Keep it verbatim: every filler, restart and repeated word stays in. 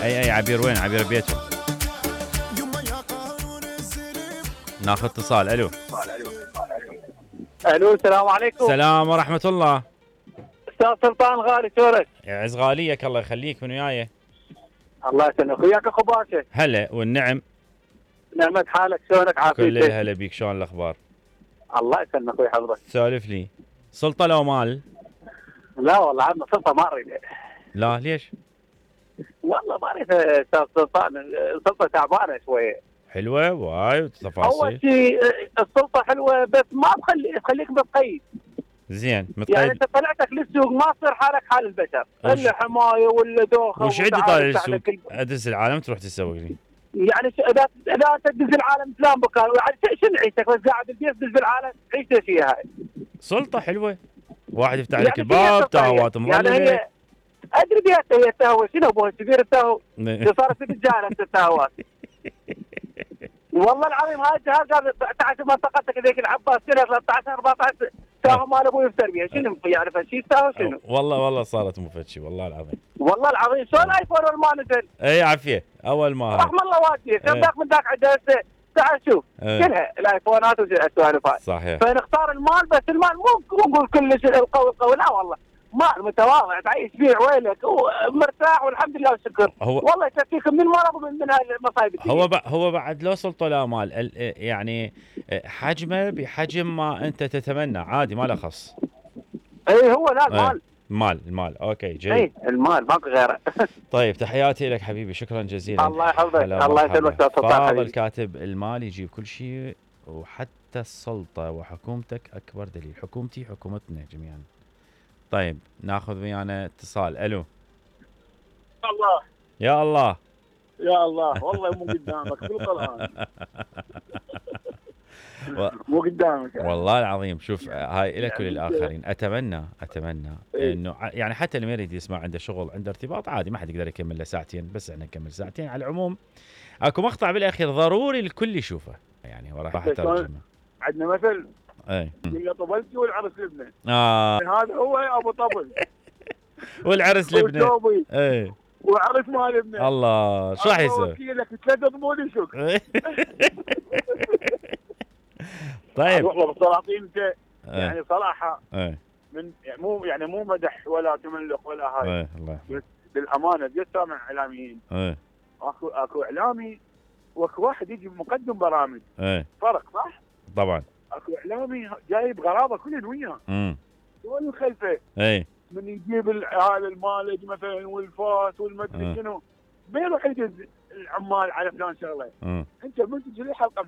اي اي عبير وين؟ عبير بيتهم. ناخذ اتصال. الو الو السلام عليكم. السلام ورحمة الله. استاذ سلطان غالي شلونك؟ يعز غاليك الله يخليك. من وياي؟ الله يسلمك. وياك اخو باشا. هلا والنعم. نعمة حالك شلونك؟ عافيتك؟ كل الهلا بيك. شلون الاخبار؟ الله يسلمك ويحفظك. سولف لي. سلطة لو مال؟ لا والله عمنا سلطة ما اريد. لا ليش؟ والله ما اريد استاذ سلطان، السلطة تعبانة شوية. حلوة وايد تفاصيل. اول شيء السلطة حلوة بس ما تخلي تخليك متقيد. زين متقيد. يعني انت طلعتك للسوق ما تصير حالك حال البشر، الا حماية ولا دوخة. وش عندي طالع للسوق؟ ادز العالم تروح تسوق لي. يعني اذا اذا تدز العالم فلان بكار، يعني شنو عيشتك بس قاعد بالبيت تدز العالم عيشتك فيها هاي. سلطة حلوة. واحد يفتح لك يعني الباب تهوات مظلمة. يعني هي ادري بيها هي تهوى شنو ابوها الكبير التهوى اللي صارت في الرجال التهوات. والله العظيم هاي الجهاز قال تعال منطقتك ذيك العباس سنه ثلاثة عشر أربعة عشر تاهو مال ابوي يفتر بيها شنو يعرف شيء تاهو شنو؟ والله والله صارت مفتشي والله العظيم. والله العظيم شلون ايفون ما نزل؟ اي عافيه اول ما رحم الله والديك كم ذاك من ذاك عنده هسه تعال شوف ايه. كلها الايفونات والسوالف هاي صحيح. فنختار المال بس المال مو نقول كلش القوي القوي لا والله مال متواضع تعيش فيه عويلك ومرتاح والحمد لله والشكر. والله يكفيك من مرض ومن من هاي المصايب. هو هو بعد لو سلطه لا مال يعني حجمه بحجم ما انت تتمنى عادي ما له خص. اي هو لا المال المال المال اوكي جيد. اي المال ماكو غيره. طيب تحياتي لك حبيبي شكرا جزيلا. الله يحفظك الله يسلمك. فاضل كاتب المال يجيب كل شيء وحتى السلطه وحكومتك اكبر دليل. حكومتي حكومتنا جميعا. طيب ناخذ ويانا اتصال. الو الله يا الله يا الله والله مو قدامك بالقرآن. و... مو قدامك يعني. والله العظيم شوف هاي لك وللآخرين. أتمنى أتمنى إيه؟ إنه يعني حتى اللي ما يريد يسمع عنده شغل عنده ارتباط عادي ما حد يقدر يكمل له ساعتين بس احنا نكمل ساعتين. على العموم اكو مقطع بالأخير ضروري الكل يشوفه يعني وراح اترجمه. عندنا مثل اي اللي طبلتي والعرس لبنه. اه هذا هو ابو طبل والعرس لبنه. اي وعرس ما لبنه. الله شو راح يسوي؟ لك ثلاث ضمون يشك. طيب والله بالسلاطين انت يعني صراحه ايه. من يعني مو يعني مو مدح ولا تملق ولا هاي. ايه الله يحفظك. بالامانه بدي سامع اعلاميين. ايه اكو اكو اعلامي واكو واحد يجي مقدم برامج. ايه فرق صح؟ طبعا. اكو اعلامي جايب غرابه كلهم وياه. امم شلون الخلفه؟ ايه من يجيب هذا المالج مثلا والفاس والمدري شنو ما يروح يدز العمال على فلان شغله. انت من تجي لي حلقه